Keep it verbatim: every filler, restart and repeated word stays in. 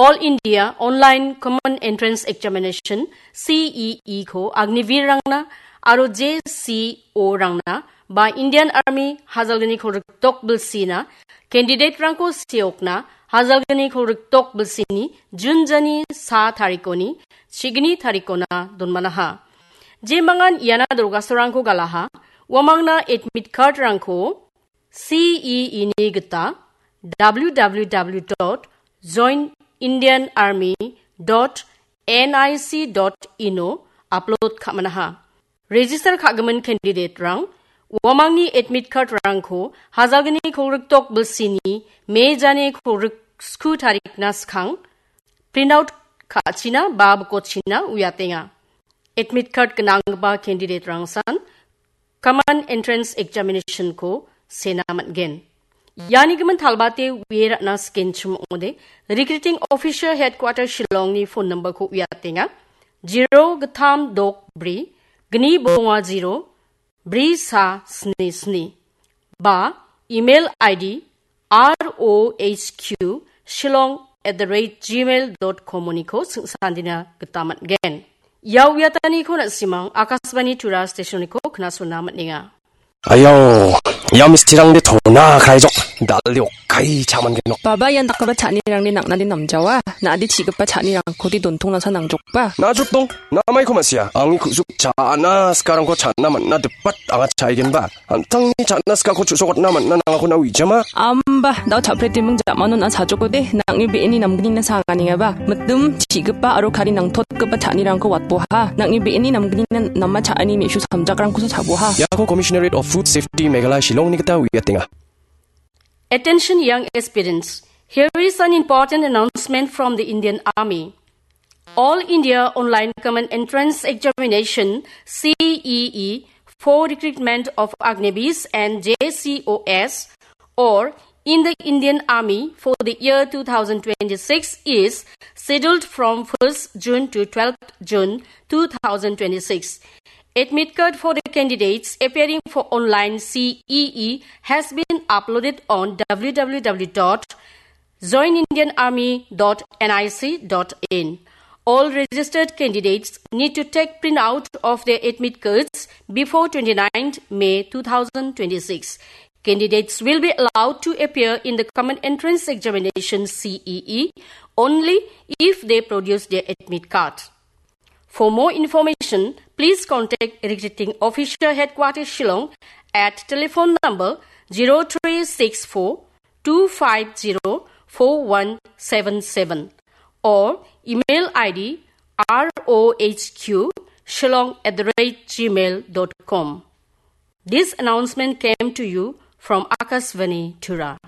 All India Online Common Entrance Examination, C E E ko Agniveer rangna aro J C O rangna ba Indian Army hajalgniko rikdok bilsina candidate rangko seokna hajalgniko rikdok bilsini June jani sa tarikoni chigni tarikona donmanaha. Jemangan iana dorgastorangko galaha, uamangna admit card rangko C E E ni gita W W W dot join Indian Army dot N I C dot in o upload ka·manaha. Register ka·gimin candidate rang uamangni admit card rangko hajalgni kolgrikdok bilsini May jani kolgriksku tarikna skang print out ka·achina ba bikochina uiatenga. Admit card gnanggipa candidate rangsan Common Entrance Examination ko sena man·gen. Iani gimin talbate uie ra·na skenchim ong·ode, Recruiting Officer Headquarter Shillong ni phone number ko uiatenga, zero gittam dok bri, gni bonga zero, bri sa sni sni. Ba email I D R O H Q shillong at the rate gmail dot com oniko sing·sandina gita man·gen. Ia uiataniko na·simang Akashvani Tura stationiko knasona man·enga. Ayo, ia mistirangde tona kraijok, dalde okai chaman genok. Baba, ian dakgipa cha·anirangde nang·nade namjawa. Na·ade chi·gipa cha·anirangkode dontong nasa nangjokba. Najuk dong, namaiko ma·sia. Angni ku·suk cha·na sikarangko cha·na man·na dipat anga cha·igenba. An·tangni cha·na sikako chu·sokatna man·na nangako na uijama. Amba, dao cha·pretiming jamano na sajokode, nang·ni be·eni namgnina sanganingaba. Mitim, chi·gipa aro kari nangtotgipa cha·anirangko watboha. Nang·ni be·eni namgnina nama cha·ani me·su samjakrangkosa chaboha. Iako Commissionerate of Food Safety Meghalaya Shillongni gita uiatenga. Attention young aspirants. Here is an important announcement from the Indian Army. All India Online Common Entrance Examination, C E E, for recruitment of Agniveers and J C O S or in the Indian Army for the year two thousand twenty-six is scheduled from first June to twelfth June two thousand twenty-six. Admit card for the candidates appearing for online C E E has been uploaded on W W W dot join indian army dot N I C dot in. All registered candidates need to take printout of their admit cards before twenty-ninth May two thousand twenty-six. Candidates will be allowed to appear in the Common Entrance Examination, C E E, only if they produce their admit card. For more information, please contact Recruiting Officer Headquarters Shillong at telephone number zero three six four two five zero four one seven seven or email I D R O H Q shillong at the rate gmail dot com. This announcement came to you from Akashvani Tura.